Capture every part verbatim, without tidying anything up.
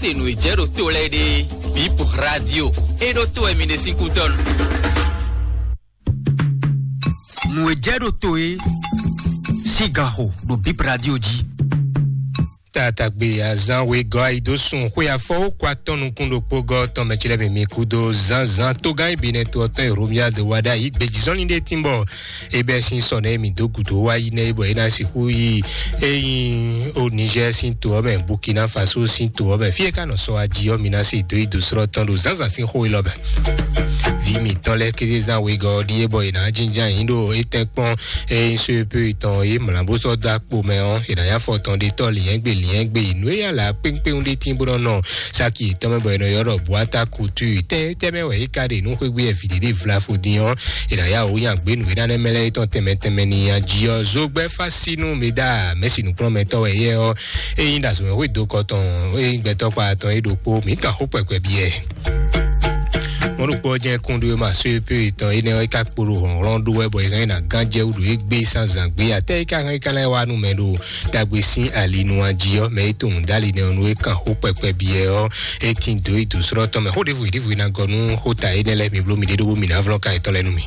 Se nǔ e jɛ ɖo to lɛ́ɛ ɖe, Bip Radio e ɖo to wɛ mi ɖe sín kútɔ́ nu. Nǔ e jɛ ɖo to e sín ganxo ɖo Bip Radio jí. Tatagbe azán wegɔ́ ayi dó sun xwé afɔ ó kó atɔ́ nukún ɖokpó gɔ́ tɔn mɛ ci lɛ́ɛ mǐmí kúdó zánzán tógán ibi nɛ to ɔtɔn e Romuald wa ɖ'ayǐ gbejizɔ́nlin ɖé tínbɔ é bɛ́ sín sɔ nɛ́ mǐ dó gǔdo wá yi nɛ́ bɔ é ná sixú yi é nyí o Niger sín to ɔ́ mɛ, Burkina Faso sín to ɔ́ mɛ. Fí e ka nɔ sɔ aji ɔ́, mi ná se dó yi dǒ slɔ́ tɔn ɖo zǎnzǎn sín xó élɔ́ mɛ. Vǐ mǐtɔn lɛ́ɛ kéze zán wegɔ́ ɔ́ ɖíe bɔ è nǎ jínjɔ́n ayǐ ɖo étɛ́ kpɔ́n é nyí so e pé tɔn é mlǎ bó sɔ́ dó akpo mɛ ɔ́, è nǎ nyí afɔ tɔn ɖe tɔ́ lǐnyɛ́gbe lǐnyɛ́gbe nǔ e nya lǎ kpéŋkpéŋ ɖé tín bó nɔ nɔ saki yětɔn mɛ bɔ è nɔ ylɔ́ ɖɔ Boata Couture. Tɛ́ tɛ́ mɛ wɛ é ka ɖe nú xwégbé Ɛfiděɖé Vlafo dín ɔ́, è nǎ yá wǔ nyi agběnu e ná nɛ́ mɛ lɛ́ɛ tɔn tɛnmɛ tɛnmɛ ní nyi ají ɔ́. Zogbɛ́ Fásínú Meda, mɛ̌si nǔkplɔ́nmɛtɔ́ wɛ éyɛ́ ɔ́, é nyí ɖo azɔ̌mɛxwé do kɔ tɔn, é nyí gbɛtɔ́ kpa tɔn é ɖokpó. Mǐ kan xó kpɛkpɛ byɔ́ ɛ. Mɔ̌ ɖokpó ɔ́ jɛ́n kúnɖó e ma só é pé tɔn énɛ́ ɔ́, é ka kpo ɖo hlɔ̌nhlɔ́n ɖó wɛ bɔ è hɛn ɛ ná gán jɛ wú ɖo égbé sín azǎn gbé. Atɛ́ é ka hɛn é ka lɛ́ wá nú mɛ ɖo ɖagbe sín ali nu a jí ɔ́, mɛ e tunwun dó ali nɛ́ ɔ́ nú é kan xó kpɛkpɛ byɔ́ ɔ́, é tín dǒ yi dǒ slɔ́ tɔn mɛ. Xó ɖěvo ɖěvo e ná gɔ nú xóta énɛ́ lɛ́ɛ, mi bló miɖée ɖó bó mi ná vlɔ́ ka yětɔn lɛ́ɛ nú mi.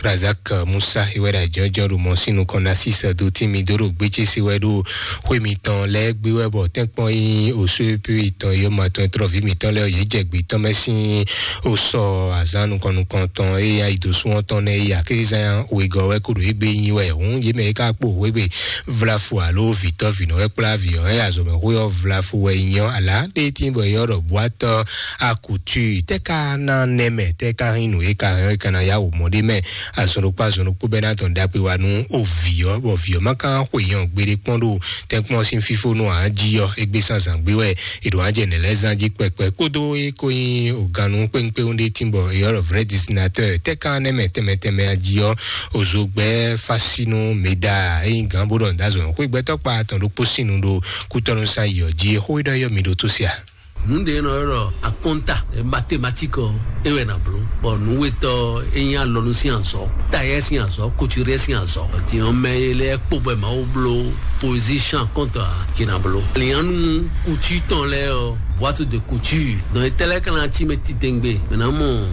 Razak Musa é wɛ ɖo ajɔ̌jɔ́ ɖo mɔ̌ sín nukɔn ná sísɛ dó tín mi dó ɖo gbécése wɛ ɖo xwé mitɔn lɛ́ɛ gbé wɛ bɔ tɛ́nkpɔ́n e nyí osó e pé tɔn e yɔ́ma tɔn e tlɔ́ví mǐtɔn lɛ́ɛ ɔ́, yě jɛ gbě tɔn mɛ sín osɔ azǎn nukɔn nukɔn tɔn e nyí ayidosún ɔ́ tɔn nɛ́ é ya kézizán wegɔ́ wɛ kó ɖo égbé nyi wɛ hǔn yě mɛ é ka kpo wěgbe vlafu alo vǐtɔ́ vǐnɔ wɛ kplá vǐ ɔ́, é azɔ̌mɛxwé ɔ́ vlafu wɛ nyí ɔ́, alǎ ɖé tín bɔ é ylɔ́ ɖɔ bwatɔ́ akutu tɛ́ ka ná nɛ́ mɛ, tɛ́ ka hín nǔ e ka hɛn é ka ná yá wǒ mɔ ɖé mɛ. Azɔn ɖokpó azɔn ɖokpó bɛ́ ná dɔn ɖagbe wá nú ovǐ ɔ́, bɔ vǐ ɔ́ ma ka xwe nyɔ gbeɖé kpɔ́n ɖo tɛ́nkpɔ́n sín fífónú ǎ jí ɔ́, égbé sín azǎn gbé wɛ è ɖǒ wá jɛ nɛ̌ lɛ́ɛ zán jí kpɛkpɛ kpódó é ko nyí ògannú kpéŋkpéŋ ɖé tín bɔ è ylɔ́ ɖɔ vrɛ́ desinateur tɛ́ ka nɛ́ mɛ tɛnmɛ tɛnmɛ a jí ɔ́, òzogbɛ́ fásínú mǐda é nyí gǎn bó ɖɔ nǔ dó azɔn xwé gbɛtɔ́ kpa atɔn ɖokpó sín nu ɖo kútɔ́nú sán yi ɔ́ jí. Xó e ɖɔ é yɔ mi ɖo tó se a? Nǔɖé nɔ ylɔ́ ɖɔ akɔ́nta, mathématique ɔ́, é wɛ ná bló. Bɔ nǔwetɔ́ é nyí alɔnu sín azɔ̌, tayɛ sín azɔ̌, kuturɛ sín azɔ̌. Din ɔ́, mɛ e lɛ́ɛ kpó bɔ Mawu bló position kɔ́ntɔ́ ǎ, yě ná bló. Lǐnyánu kutú tɔn lɛ́ɛ ɔ́, boîte de couture. Nɔ étɛ́ lɛ́ɛ ka ná cí mɛ titɛngbé, mɛ ná mɔ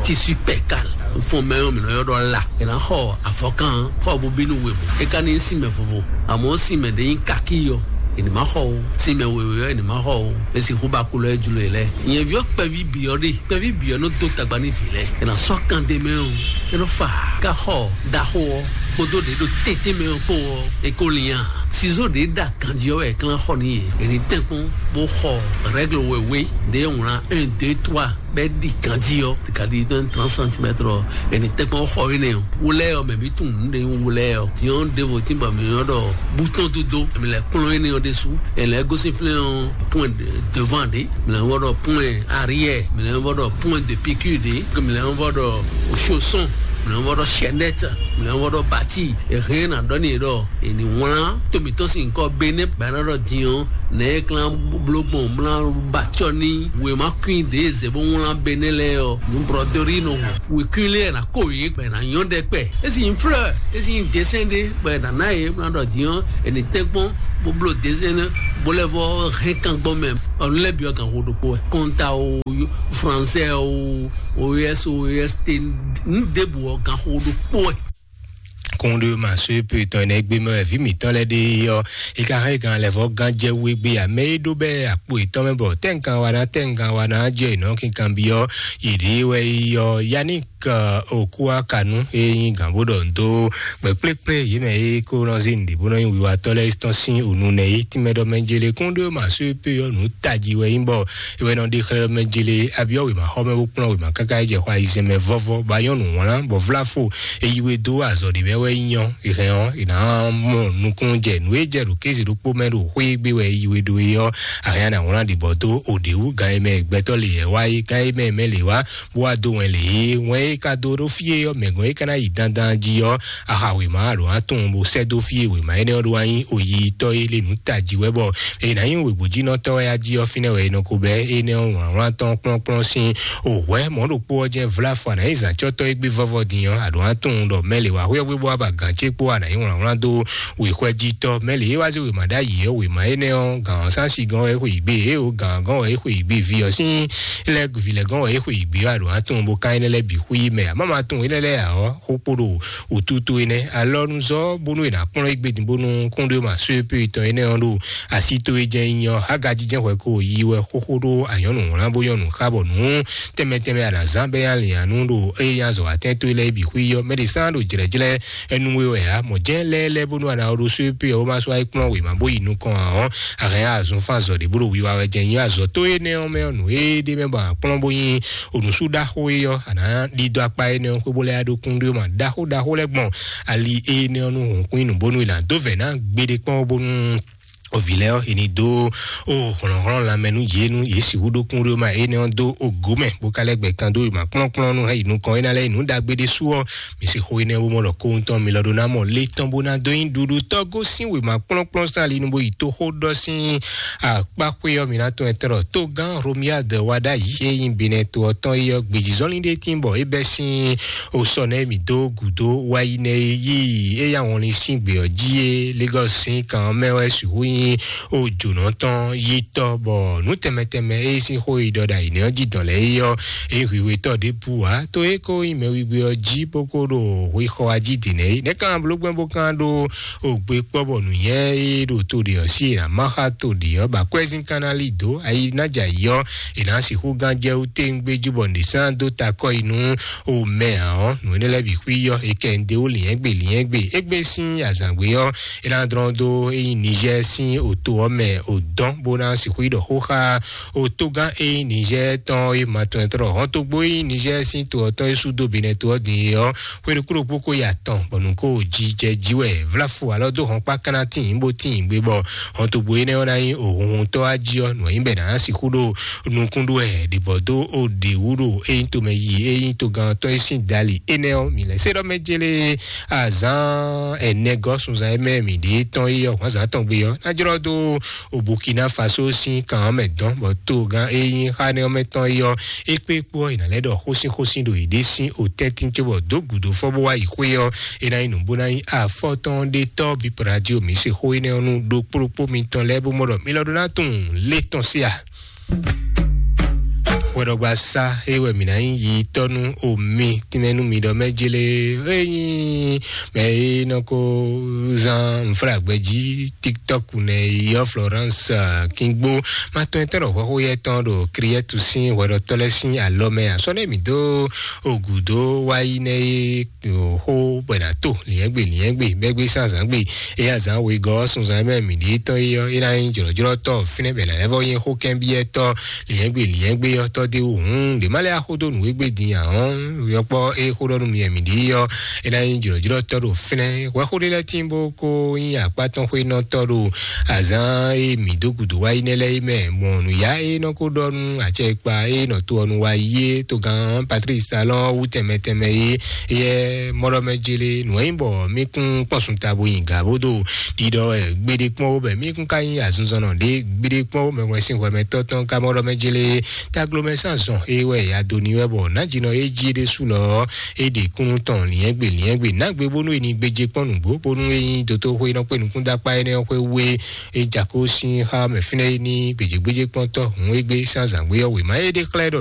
tissu pɛkal. Fɔn mɛ ɔ́, mɛ nɔ ylɔ́ ɖɔ la. È nǎ xɔ avɔkan xɔ bó bínú wěwé. É ka ní nyí sinmɛ vovo, àmọ́ sinmɛ ɖé nyí kakí ɔ́, è ní má xɔ o. Sinmɛ wěwé ɔ́, è ní má xɔ o. É sixú ba kulɔ é jlo e lɛ́ɛ. Nyɛ̌ví ɔ́ kpɛví bǐ ɔ́ ɖe, kpɛví bǐ ɔ́ nɔ dó tagba nú vǐ lɛ́ɛ. È nǎ sɔ́ kan ɖé mɛ ɔ́, é nɔ fa ká xɔ ɖaxó ɔ́, kpódó ɖě ɖo tɛ́ntɛ́n mɛ ɔ́ kpó ɔ́, é kó lian. Sizó ɖě ɖa ganjí ɔ́ wɛ è klán xɔ n'i. È ní tɛ́nkpɔ́n bó xɔ règle wěwé ɖě wlán un, deux, trois. Bɛ ɖi ganjí ɔ́, ɖi ka ɖi ɖo trente centimètres ɔ́, ɛni tɛkpɔn xɔ énɛ́ ɔ́, wo lɛ́ɛ ɔ́, mɛ bí tunwun nǔ ɖe nyí wo lɛ́ɛ ɔ́. Diɔn ɖěvo tí bɔ mǐ ɔ́ ɖɔ bútɔn dúdú, mǐ lɛ́ kplɔ́n énɛ́ ɔ́ ɖésú, ɛ lɛ́ gosín flɛ́n ɔ́ point devant ɖé, mǐ lɛ́ vɔ ɖɔ point arrière, mǐ lɛ́ vɔ ɖɔ point de piqûre ɖé, mǐ lɛ́ vɔ ɖɔ chausson, mǐ lɛ́ vɔ ɖɔ chaînette, mǐ lɛ́ vɔ ɖɔ bati. È hɛn ná ɖɔ n'i ɖɔ è nǐ wlán to mǐtɔn sín nyǐkɔ Benɛ́, bɔ é ná ɖɔ din ɔ́, nɛ̌ é klán bló gbɔn mlá ba acɔ́ n'i wěma kwín ɖě e zě bó wlán Benɛ́ lɛ́ɛ ɔ́, nǔ brɔdɔ́rí nɔ hu. Wěkwín lɛ́ɛ ná kó yě, bɔ è nǎ nyɔ́ ɖɛkpɛ. É sì nyí fleur, é sì nyí desɛn ɖé, bɔ è nǎ ná yě, bó ná ɖɔ din ɔ́, è nǐ tɛ́nkpɔ́n bó bló desɛn nɛ́, bó lɛ́ vɔ hɛn kan gbɔn mɛ. Ɔ, nǔ lɛ́ɛ bǐ ɔ́, gan xo ɖokpó wɛ. Kɔnta o, français o, O E S, O E S T, nǔ ɖěbǔ ɔ́, gan xo ɖokpó wɛ. Kúnɖé ma só é pé tɔn ɛnɛ gbé mɛ wɛ vǐ mǐtɔn lɛ́ɛ ɖe ɔ́, é ka hɛn gan lɛ vɔ gán jɛ wú égbé ǎ. Mɛ é ɖó bɛ́ akpo yětɔn mɛ bɔ tɛ́nkan wa ná tɛ́nkan wa ná jɛ è nɔ kinkan byɔ́ yě ɖě wɛ é ɔ́, Yannick Okuakanu é nyí gǎn bó ɖɔ ndo kpɛkplɛ́kplɛ́ yě mɛ é kó nɔ zé nǔɖé bó nɔ nyí wiwatɔ́ lɛ́ɛ tɔn sín ònu nɛ é tínmɛ ɖɔ mɛ jele. Kúnɖé ma só é pé ɔ́, nǔ tají wɛ nyí bɔ é wɛ nɔ ɖe xlɛ́ ɖɔ mɛ jele abyɔ́ wěma xɔ mɛ bó kplɔ́n wěma káká é jɛ xɔ ayizɛ́n mɛ vɔ́vɔ́, bɔ a nyɔ́ nǔ wlán, bɔ vlá fo. È yi we dó azɔ̌ ɖé mɛ wɛ é nyí ɔ́, è hɛn ɔ́, è nǎ mɔ nukúnnú jɛ nǔ e jɛ ɖo kéze ɖokpó mɛ ɖo xwé gbé wɛ è yi we ɖó é ɔ́, a hɛn ɔ́, a nǎ wlán ɖě bɔ dó o ɖě wú. Gan e mɛ gbɛtɔ́ lě wɛ wá é, gan e mɛ mɛ lě wá, bó wá dó wɛn lě é. Wɛn e ka dó ɖó fí é ɔ́, mɛ gɔn e ka ná yi dandan jí ɔ́, a xa wěma a ɖǒ ná tunwun bó sɛ́ dó fí e wěma énɛ́ ɔ́ ɖó wá nyí oyitɔ́ é lé nǔ tají wɛ bɔ è nǎ nyí wěgbójínɔtɔ́ wɛ a jí ɔ́, fínɛ́ wɛ è nɔ ko bɛ́ énɛ́ ɔ́ wlǎnwlán tɔn kplɔ́nkplɔ́n sín òhwɛ́ mɔ̌ ɖokpó ɔ́ jɛ́n vlá fɔ a nǎ nyí zǎncɔ́tɔ́ e gbé vɔ́vɔ́ din ɔ́, a ɖǒ ná tunwun ɖɔ mɛ lě wá xwé ɔ́ gbé bó wá ba gǎn ce kpó ana yí wlǎnwlán dó wěxwɛ́jítɔ́ mɛ lě e wá zé wěma ɖ'ayǐ ɔ́, wěma énɛ́ ɔ́, gǎn ɔ́ sán si gɔ́n wɛ é xwe yǐgbe, é o gǎn gɔ́n wɛ é xwe yǐgbe, vǐ ɔ́ sín lɛ́ vǐ lɛ́ gɔ́n wɛ é xwe yǐgbe, wá ɖo atún bó ká énɛ́ lɛ́ɛ bǐ xwí mɛ. Amá ma tunwun énɛ́ lɛ́ɛ ǎ ɔ́, xó kpo ɖo wǔtútú énɛ́ alɔnuzɔ́ bónú è nǎ kplɔ́n égbé din bónú kúnɖé ma só é pé tɔn énɛ́ ɔ́ ɖo así towe jɛ́n nyí ɔ́, Hagajijɛ́n hwɛ ko yi wɛ xóxó ɖó anyɔ̌nu wlán bó nyɔ́nu xá bɔ nǔ tɛnmɛ tɛnmɛ a nǎ zán bɛ́ nyi alǐnnyánú ɖo eye nyi azɔ̌ atɛ́nto lɛ́ɛ bǐ xwí ɔ́. Mɛ ɖě sán ɖo jlɛ̌jlɛ́ ɛnu we wɛ ǎ. Mɔ̌ jɛ́n lɛ́ɛ lɛ́ɛ bónú a nǎ ɔ́ ɖó só é pé ɔ́, bó má sɔ́ wá yi kplɔ́n wěma bó yi nukɔn ǎ ɔ́, a hɛn azɔn fán azɔ̌ ɖě bó ɖo wiwa wɛ jɛ nyí azɔ̌ tó énɛ́ ɔ́ mɛ ɔ́, nǔ e ɖ'é mɛ bɔ a kplɔ́n bó nyí onǔsú ɖaxó é ɔ́, a nǎ ɖidó akpá énɛ́ ɔ́ xwé bó lɛ́ yá ɖó kúnɖó ma ɖaxó ɖaxó lɛ́ɛ gbɔn ali énɛ́ ɔ́ nú hǔnkún nyi nǔ bónú è nǎ dó vɛ̌ ná gbeɖé kpɔ́n bónú Vǐ lɛ́ɛ ɔ́, è nǐ dó ó hlɔ̌nhlɔ́n lanmɛ nú yě nú yě sixú ɖó kúnɖéwúma énɛ́ ɔ́ dó ògǒ mɛ, bó ka lɛ́ gbɛ kan dó yi mǎkplɔ́nkplɔ́n nú hɛn yi nukɔn é ná lɛ́ yi nǔ ɖagbe ɖésú ɔ́, mi sixú énɛ́ wú mɔ ɖɔ kóhun tɔn mi lɔ ɖó ná mɔ lé tɔn bó ná dó nyí ɖuɖu tɔ́ gosín wěma kplɔ́nkplɔ́n sín ali nu bó yi toxó ɖɔ sín akpáxwé ɔ́, mi ná tɔn ɛ tɔn ɖɔ tógán Romiade wá ɖ'ayǐ é nyí Benɛ to ɔ́ tɔn é ɔ́, gbějízɔ́nlin ɖé tín bɔ é bɛ́ sín o sɔ nɛ́ mǐ dó gǔdo wá yi nɛ́ é yí é yá wɔnlin sín gbě ɔ́ jí é. Lagos sín kan ɔ́ mɛ wɛ sixú nyí o jǒnɔ tɔn yi tɔ bɔ nǔ tɛnmɛ tɛnmɛ é sín xó yi ɖɔ ɖo ayǐ nɛ́ ɔ́ jí dɔn lɛ́ɛ é ɔ́, é hwǐhwetɔ́ ɖěbǔ ǎ. To é ko nyí mɛwígbé ɔ́ jí bó ko ɖo hwexɔ wá jí dǐ nɛ́ é. Nɛ̌ kan bló gbɛ́ bó kan ɖó o gbe kpɔ́ bɔ nǔnyɛ e ɖo to ɖě ɔ́ sí e ná má xá to ɖě ɔ́ ba kwɛ́zín kan ná lí dǒ ayi ná jɛ ayǐ ɔ́, è nǎ sixú gán jɛ wú téńgbé jú bɔ nǔɖé sán dó ta kɔ yi nú o mɛ ǎ ɔ́, nǔ énɛ́ lɛ́ɛ bǐ xwí ɔ́, è kɛ ń dé wú lǐnyɛ́gbe lǐnyɛ́gbe. Égbé sín azǎngbé ɔ́, é ná dlɔ́n dó é nyí Niger sín oto ɔ́ mɛ o dɔn bó ná sixú yi ɖɔ xó xá o tógán é nyí Niger tɔn é ma tɔn ɛ tɔn hɔn tógbó é nyí Niger sín to ɔ́ tɔn é sú dó Benɛ to ɔ́ din é ɔ́, xwé ɖokpó ɖokpó ko yi atɔn bɔ nǔ ko jí jɛ jí wɛ vláfu alɔ dó hɔn kpá káná tín bó tín gbé bɔ hɔn tógbó énɛ́ ɔ́ ná nyí òhunhun tɔ́ wá jí ɔ́, nǔ e nyí bɛ ná sixú ɖo nukún ɖó wɛ ɖě bɔ dó o ɖě wú ɖo é nyí tomɛ yi é nyí togán tɔn é sín dali énɛ́ ɔ́, mǐ lɛ́ sé ɖɔ mɛ jélé azán ɛnɛ gɔ́ sunzan e mɛ mǐ ɖe tɔn yi ɔ́ hwǎnzán tɔn gbe ɔ́ ná jlɔ́ dó o Burkina Faso sín kan ɔ́ mɛ dɔn bɔ togán e nyí xánɛ ɔ́ mɛ tɔn yi ɔ́ é kpé kpó ɔ́, è nǎ lɛ́ ɖɔ xósínxósín ɖo yěɖée sín otɛ́ntín cóbɔ dó gǔdo fɔ bó wá yi xwé ɔ́, é ná nyí nǔ bó ná nyí afɔtɔn ɖé tɔ́ bí radio mǐ se xó énɛ́ ɔ́ nú ɖokpóɖokpó mitɔn lɛ́ɛ bó mɔ ɖɔ mi lɔ ɖó ná tunwun lé tɔn sí a. Hwɛɖɔgba sá é wɛ mǐ ná nyí yi tɔ́ nú omi tínmɛ nú mi ɖɔ mɛ jélé é nyí mɛ e nɔ ko zán nǔflágbɛjí TikTok nɛ yɔ Florence Kingbo ma tɔn tɔn ɖɔ hwɛxó yɛ tɔn ɖo Kriɛtu sín hwɛɖɔtɔ́ lɛ́ɛ sín alɔ mɛ asɔ́ nɛ mǐ dó ogu dó wá yi nɛ é xó bɔ è nǎ to lǐnyɛ́gbe lǐnyɛ́gbe bɛ́gbé sín azǎngbe. Éyɛ́ azǎn wegɔ́ sunzan mɛ mǐ ɖíe tɔn é ɔ́, é ná nyí jlɔ̌jlɔ́tɔ́ fínɛ́ bɛ̌ ná lɛ́ vɔ́ nyí xókɛ́nbyɔ́tɔ́ lǐnyɛ́gbe lǐnyɛ́gbe ɔ́ tɔ́ dó wǔ hǔn ɖě má lɛ́ axó dó nǔ égbé din ǎ ɔ́, yɔkpɔ́ é xó ɖɔ nú mi wɛ mǐ ɖíe ɔ́, é ná nyí jlɔ̌jlɔ́tɔ́ ɖo fínɛ́. Hwɛxó ɖé lɛ́ɛ tíin bó kó nyí akpá tɔn xwénɔtɔ́ ɖo azǎn e mǐ dó gǔdo wá yi nɛ́ lɛ́ɛ é mɛ. Mɔ nǔyá e nɔ ko ɖɔ nú acɛ e kpa e nɔ to ɔ́ nu wá yi é togán Patrice Talon wú tɛnmɛ tɛnmɛ é yɛ mɔɖɔmɛ jele nǔ e nyí bɔ mí kún kpɔn sun ta bo nyi gǎ bó do ɖiɖɔ wɛ gbeɖé kpɔ́n wó bɛ mí kún ka nyí azinzɔnnɔ ɖé gbeɖé kpɔ́n wó mɛ wɛ sín hwɛmɛtɔ́ tɔn ka mɔɖɔmɛ jele taglomɛ sín azɔn e wɛ adoni wɛ bɔ nǎjinɔ e jí ɖésú lɔ é ɖe kúnnu tɔn liɛ́ngbe liɛ́ngbe nǎgbe bónú e ní gbéjé kpɔ́n nǔgbó bónú e nyí dotóxwé nɔ kpé nukúndakpá énɛ́ xwé wé e jako sín xá mɛ fínɛ́ é ní gbèjégbéjé kpɔ́ntɔ́ hǔn égbé sín azǎngbé ɔ́ wěma é ɖe xlɛ́ ɖɔ